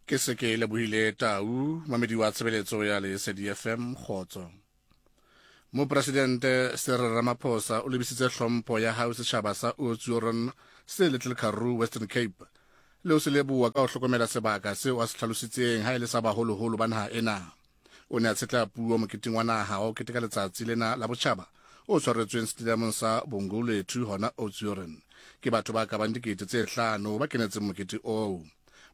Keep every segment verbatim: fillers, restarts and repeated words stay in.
Ke se ke lebohile Tau, mamedi wa tshebeletso ya Lesedi F M, kgotso. Mopresidente Cyril Ramaphosa o lebisitse hlompho ya hao setjhaba sa Oudtshoorn se Little Karoo, Western Cape, le ho se leboha ka ho hlokomela sebaka seo a se hlalositseng ha e le sa baholoholo ba naha ena. O ne a tshetla puo moketeng wa naha wa ho keteka letsatsi lena la botjhaba o tshwaretsweng stadiumong sa Bongolethu hona Oudtshoorn. Ke batho ba ka bang dikete tse hlano ba kenetseng mokete oo.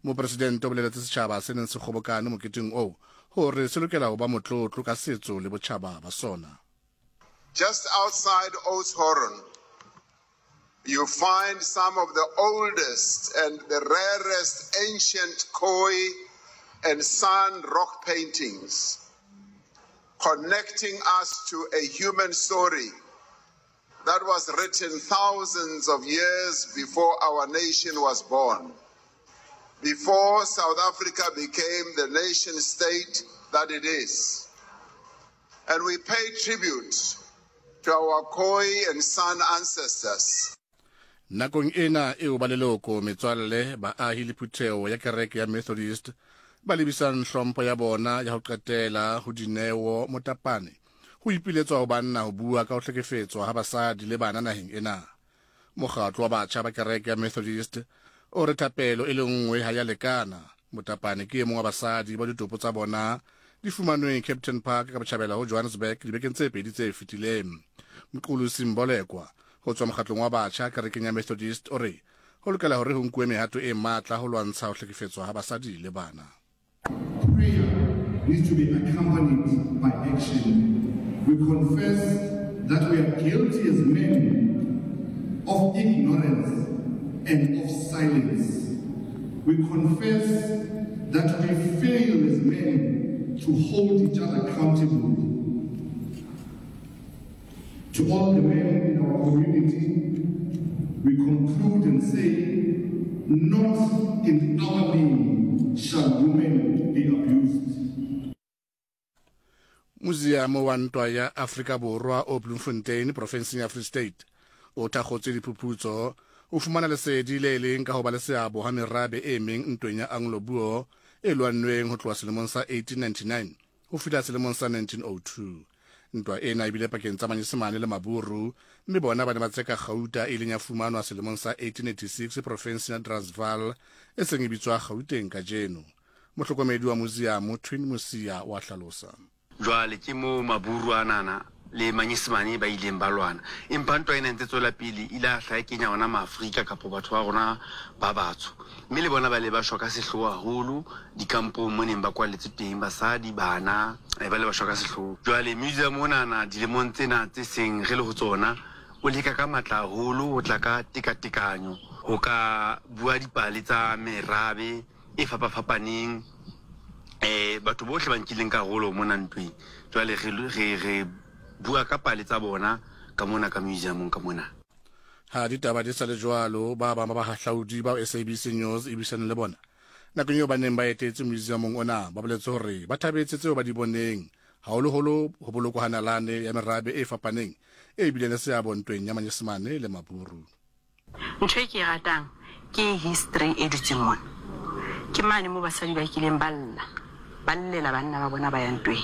Mopresidente o boleletse setjhaba se neng se kgobokane moketeng oo hore se lokela ho ba motlotlo ka setso le botjhaba ba sona. Just outside Oudtshoorn, you find some of the oldest and the rarest ancient Khoi and San rock paintings, connecting us to a human story that was written thousands of years before our nation was born, before South Africa became the nation state that it is. And we pay tribute to our Khoi and San ancestors. Nakong ena eo ba leloko, metswalle, baahi le phutheho ya kereke ya Methodist ba lebisang hlompho ya bona ya ho qetela ho Dineo Motapane, ho ipiletswa ho banna ho bua ka ho hlekefetswa ha basadi le bana naheng ena. Mokgatlo wa batjha ba kereke ya Methodist o re thapelo e le nngwe ha ya lekana. Motapane ke e mong wa basadi ba ditopo tsa bona di fumanweng Kempton Park ka botjhabela ho Johannesburg dibekeng tse pedi tse fetileng. Mqulusi Mbolekwa ho tswa mokgatlong wa batjha kerekeng ya Methodist o re ho lokela hore ho nkuwe mehato e matla ho lwantsha ho hlekefetswa ha basadi le bana. Prayer needs to be accompanied by action. We confess that we are guilty as men of ignorance and of silence. We confess that we fail as men to hold each other accountable. To all the men in our community, we conclude and say, not in our name shall women be abused. Museum wa Ntwa ya Afrika Borwa o Bloemfontein, profenseng ya Free State, o thakgotse diphuputso o fumana lesedi le leng ka ho ba le seabo ha merabe e meng ntweng ya Anglo-Boer e lwannweng ho tloha selemong sa eighteen ninety-nine ho fihla selemong sa nineteen oh two. Ntwa ena ebile pakeng tsa Manyesemane le Maburu, mme bona ba ne ba tseka kgauta e ileng ya fumanwa selemong sa eighteen eighty-six profenseng ya Transvaal e seng e bitswa Gauteng kajeno. Mohlokomedi wa museum, Twin Mosia, wa hlalosa. Jwale ke moo Maburu anana le Manyesemane ba ileng ba lwana, empa ntwa ena e ntse tswela pele ile a hla e kenya ona Maafrika kapo batho ba rona ba batsho, mme le bona ba le ba shwa ka sehloho haholo dikampong mo neng ba kwalletswe teng, basadi, bana, eh, ba le ba shwa ka sehloho. Jwale museum onana dilemong tsena tse seng re le ho tsona o leka ka matla haholo ho tla ka tekatekanyo ho ka bua dipale tsa merabe e fapafapaneng, eh batho bohle ba nkileng karolo mona ntweng. Jwale re re re bua ka pale tsa bona ka mona ka museumong ka mona. Ha ditaba di sa le jwalo, ba bang ba bahahlaudi bao S A B C News e buisaneng le bona nakong eo ba neng ba etetse museumong ona ba boletse hore ba thabetse tseo ba di boneng, haholoholo ho bolokwa ha nalane ya merabe e fapaneng e bileng le seabo ntweng ya Manyesemane le Maburu. Ntho e ke e ratang ke history e dutseng mona. Ke mane mo basadi ba kileng ba lla, ba llela banna ba bona ba yang ntweng.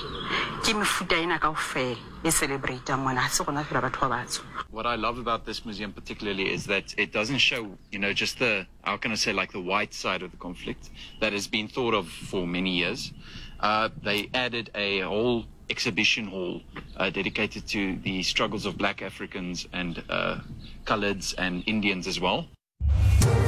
Ke mefuta ena kaofela e celebrate-ang mona, ha se rona fela batho ba batsho. What I love about this museum particularly is that it doesn't show, you know, just the, how can I say, like the white side of the conflict that has been thought of for many years. Uh, they added a whole exhibition hall uh, dedicated to the struggles of black Africans and uh, coloreds and Indians as well.